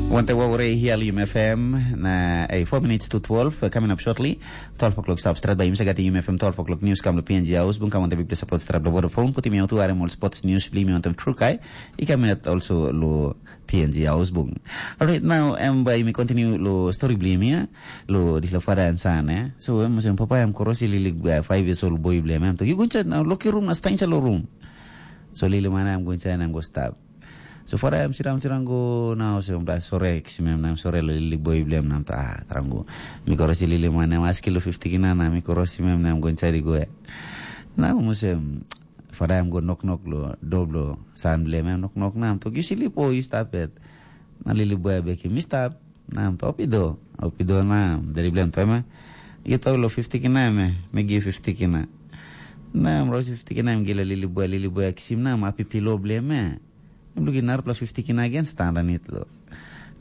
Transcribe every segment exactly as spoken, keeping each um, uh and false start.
Wante wawore hial Yum F M na eh, four minutes to twelve, eh, coming up shortly. Twelve o'clock stap stret by Yum Sagati Yum F M twelve o'clock news kam lo P N G House bung kam wante big support stret lo Vodafone puti mi autu arem all sports news bli mi ontem trukai. I kam yet also lo P N G House bung. Alright, now em by mi continue lo story bli mi ya. Lo dis lo father and son, eh. So em sem papa em korosi lili uh, five years old boy bli em. Em to you go inside now, lock your room, na stay inside lo room. So lili mana em go inside and em go stop. So fara em sirang sirang go na olsem bla sore kisim em na em sore lo lili boy bilem na em ta ah, tarang go. Mi korosi lili man em aski lo fifty kina na mi korosi em na em go inside go. Na em olsem fara em go nok nok lo do blo san bilem em nok nok na em tok you sleep o you stop it. Na lili boy bekim mi stop. Na em tok opido, opido na em dari bilem to em. Gitu lo fifty kina em, mi give fifty kina. Na em rosi fifty kina em gila lili boy, lili boy kisim na em api pilo bilem. Em lukim narapela fifty kina gen stan ranit lo.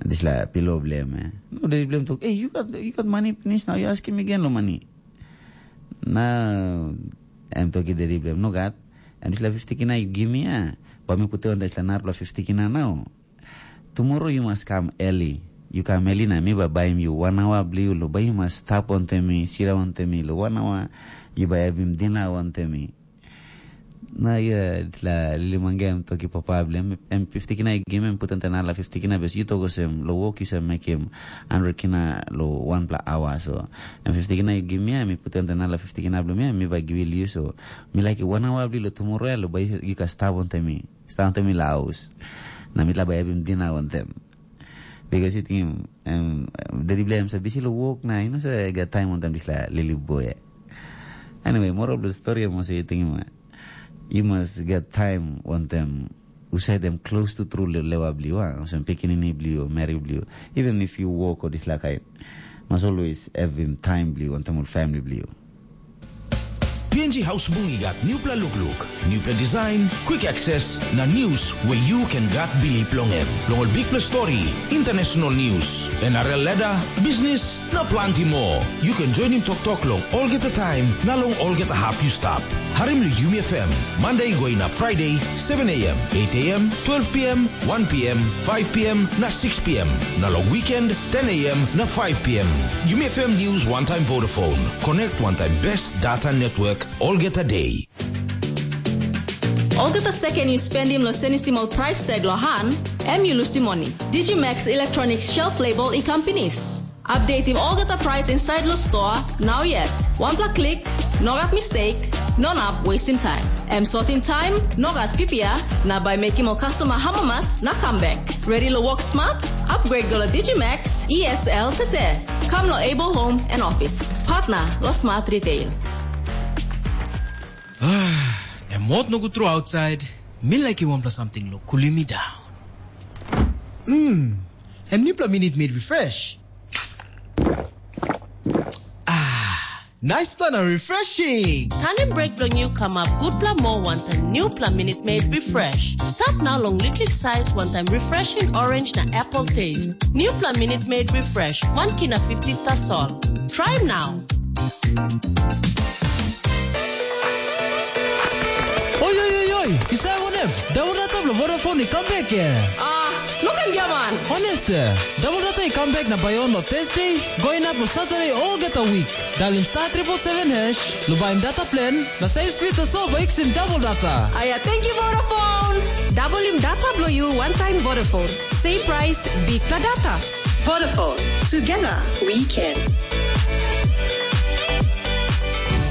Dispela pilo bilem. No, dedi bilem tok, "Hey, you got you got money finish now, you asking me again lo money." Na em toki dedi bilem, "No gat." Em dispela fifty kina you give me, ah. Ba mi put on dispela narapela fifty kina now. Tomorrow you must come early. You come early na mi ba baim you one hour bliu lo ba you must stap on mi, sira on mi lo one hour you ba havim dinner on mi. Na ia la lili mangga em toki papa bli em em fifty kina i gim em putan ten ala fifty kina bes yu toko sem lo wok yu sem mekim hundred kina lo wanpela awa so em fifty kina i gim ya mi putan ten ala fifty kina bli mi mi ba givi liu so mi like one hour bli lo tomorrow ya lo ba yu ka stap ontem mi stap ontem mi la haus na mi la ba evim dina ontem. Because yu tingim em dedi bli em sa bisi lo wok na yu no sa gat taim ontem disla lili boy. Anyway, moral of the story em olsem yu tingim, you must get time wantem husat em close to tru lewa bliu, ah, olsem pikinini bliu, meri bliu. Even if you work o dispela kain, must always havim time bliu wantem ol family bliu. P N G House Bung i gat newpela lukluk, newpela design, quick access, na news where you can gat bilip long em. Long ol bikpela story, international news, N R L ladder, business, na planti moa. You can join him toktok long olgeta taim na long olgeta hap yu stap. Harim long Yumi F M, Monday going up Friday, seven a.m., eight a.m., twelve p.m., one p.m., five p.m. na six p.m. Na long weekend, ten a.m. na five p.m. Yumi F M News one time Vodafone. Connect one time best data network olgeta day. Olgeta second yu spendim lo senisim ol price tag lo han, em yu lusim moni. Digimax Electronics shelf label i kam pinis. Updatim olgeta price inside lo store, now yet. Wanpela klik, no gat mistake, no nap wastim time. Em sotim time, no gat pipia, na bai mekim ol customer hamamas na comeback. Ready lo work smart? Upgrade go lo Digimax E S L tete. Come lo Able Home and Office. Partner lo Smart Retail. Em mot nogut tru outside. Mi laikim wanpela samting lo kulim mi down. Mm, em nipela minit made refresh. Ah, nice plan and refreshing. Tanim break bilong yu kamap gutpela moa wantaim newpela Minute Maid Refresh. Stap nau long liklik sais wantaim refreshing orange na apple taste. Newpela Minute Maid Refresh, one kina fifty tasol. Try now. Oi, oi, oi, oi, yu save wanem? Daun data bilong Vodafone i kam bek, eh? Ah, no ken giaman. Honest, eh? Daun data i kam bek na bai on lo Thursday, go inap lo Saturday olgeta week. Dalim star triple seven hash, lo baim data plan, na save speed tasol bai kisim double data. Aia, thank you Vodafone. Dabolim data bilong yu one time Vodafone. Same price, big data. Vodafone. Together, we can.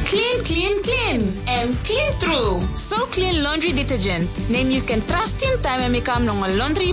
Clean, clean, clean. Em clean true. So clean laundry detergent. Nem you can trust in time em i kam long ol laundry